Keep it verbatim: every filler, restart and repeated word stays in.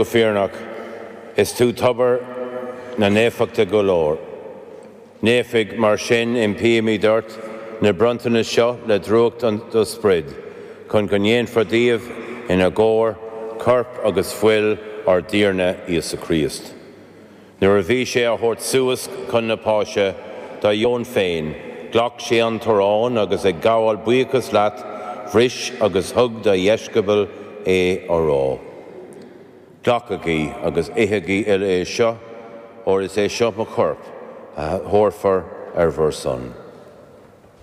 go fírinneach, is tú tobar na naofachta go léir. Naofaigh mar sin impímid ort na bronntanais seo le drúcht an do sprid, chun go ndéanfar díobh ina gcomhair corp agus fuil ár dTiarna Íosa Críost. Nuair a bhí sé á thabhairt suas chun na páise dá dheoin féin, ghlac sé an t-arán agus ag gabháil buíochas leat, bhris agus thug dá dheisceabail é á rá. Glacaigí agus ithigí uile é seo, óir is é seo mo chorp a thabharfar ar bhur son.